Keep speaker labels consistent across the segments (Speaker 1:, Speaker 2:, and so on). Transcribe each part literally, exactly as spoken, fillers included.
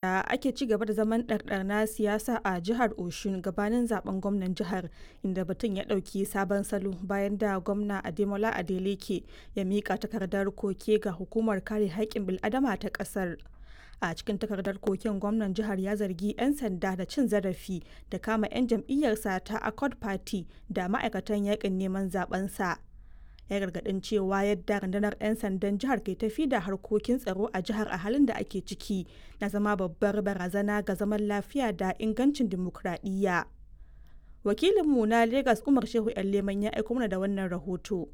Speaker 1: Da ake ci gaba da zaman ɗarɗar na siyasa a jihar Osun gabanin zaben gwamnan jihar, inda batun ya ɗauki sabon salo bayan da Gwamna Ademola Adeleke ya miƙa takardar koke ga Hukumar Kare Haƙƙin Bil'adama ta ƙasar. A cikin takardar koken, gwamnan jihar ya zargi 'yan sanda da cin zarafi da kama 'yan jam'iyyarsa ta Accord Party da ma'aikatan yaƙin neman zaɓensa. Ya gargadin cewa yadda rundunar 'yan sandan jihar ke tafi da harkokin tsaro a jihar a halin da ake ciki na zama babbar barazana ga zaman lafiya da ingancin dimokuraɗiyya. Wakilinmu na Legas Umar Shehu Leman ya aiko mana da wannan rahoto.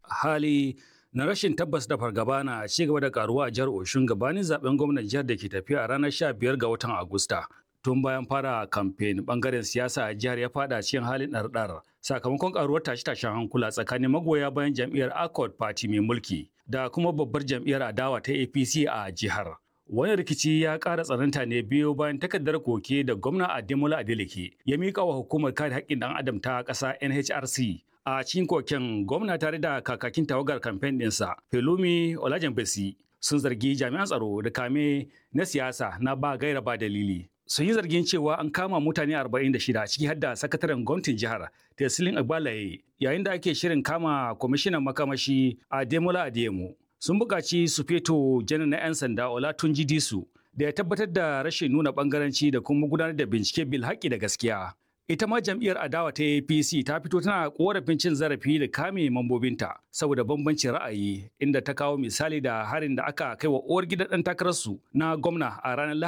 Speaker 2: Hali na rashin tabbas da fargaba na ci gaba da karuwa a jihar Oshun gabanin zaben gwamnan jihar da ke tafiya a ranar sha biyar ga watan Agusta. Tun bayan fara kamfen, bangaren siyasa a jihar ya fada cikin halin ɗarɗar sakamakon karuwar tashe-tashen hankula tsakanin magoya bayan jam'iyyar Accord Party mai mulki da kuma babbar jam'iyyar adawa ta A P C a jihar. Wani rikici ya ƙara tsananta ne biyo bayan takardar koke da gwamna Ademola Adeleke ya miƙa wa Hukumar Kare Haƙƙin Ɗan Adam ta ƙasa, N H R C. A cikin koken, gwamna tare da kakakin tawagar kamfen ɗinsa, Pelumi Olajenbesi, sun zargi jami'an tsaro da kame na siyasa na ba gaira ba dalili. Sun yi zargin cewa an kama mutane arba'in da shida, ciki har da sakataren gwamnatin jihar Tesilin Agbalaye, yayin da ake shirin kama kwamishinan makamashi Ademola Adeyemo. Sun buƙaci Sufeto Janar na 'yan sanda Olatunji Disu da ya tabbatar da rashin nuna bangaranci da kuma gudanar da bincike bil haƙƙi da gaskiya. Ita ma jam'iyyar adawa ta A P C ta fito tana korafin cin zarafi da kame mambobinta saboda bambancin ra'ayi, inda ta kawo misali da harin da aka kai wa uwar gidan ɗan takararsu na gwamna a ranar Lahadi.